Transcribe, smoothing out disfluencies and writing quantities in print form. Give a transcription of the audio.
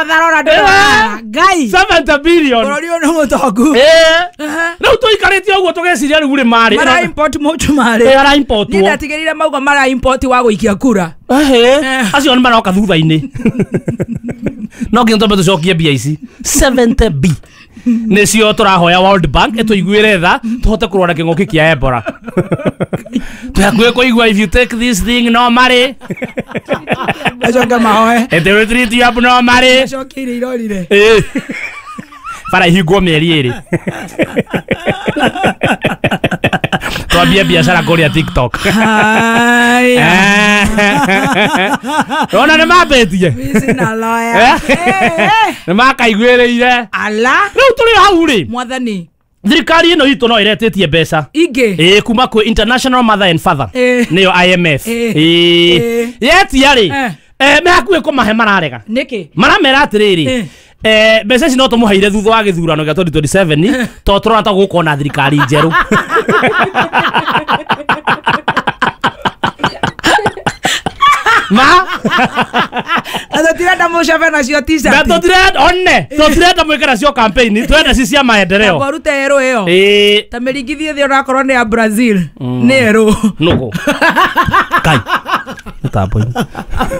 Ũgũtharora ndũrora. Ngai. 70 billion. Bũrũri ũyũ nĩ mũtongu. Rĩu tũikarĩte ũguo tũgeciria rĩu rĩ marĩ. Mara import mũcumarĩ. Ara import. Niĩ ndatigĩrĩire mauga mara import wa gũikia kura. Acio nĩ maroka thutha-inĩ. No nginya twambe tũcokie mbia ici 70 b nĩcio tũrahoya World Bank ĩtũiguĩre tha tũhote kũrũa na kĩng'ũki kĩa Ebola. Twĩ hakuhĩ kũigua if you take this thing no marĩ. Acoke mahoe. It will treat you abnormally. Acoke iria irorire. Bara ihingwo mĩeri ĩrĩ. Twambie biacara kũrĩa TikTok. Haya. Ona nĩ mambĩtie. Mimi na lawyer. Nĩ makaiguĩrĩire. Ala. Rĩu tũrĩ hau rĩ. Mwathani. Thirikari ĩno itũ no ĩretĩtie mbeca. Ingĩ. Ĩĩ kuma kwĩ International Mother and Father. Nĩyo IMF. Ĩĩ. Yetia rĩ. Me hakuhĩ kũmahe mararega. Nĩkĩ? Maramera atĩrĩrĩ. Mbeca ici no tũmũheire thutha wa gĩthurano gĩa 2027 tondũ tũrona ta gũgũkorwo na thirikari njerũ. Ma Na tũtirenda mũcabe nacio na t-shirt. tũtirenda one tũtirenda mwĩke nacio campaign tũrenda ci cia maendeleo. Amba ũrute erũ ĩyo. Ĩĩ. Ta mĩringithie thĩ onakorwo nĩ ya Brazil. Nĩ erũ. Nũgũ. Kai. Mũtambo-inĩ.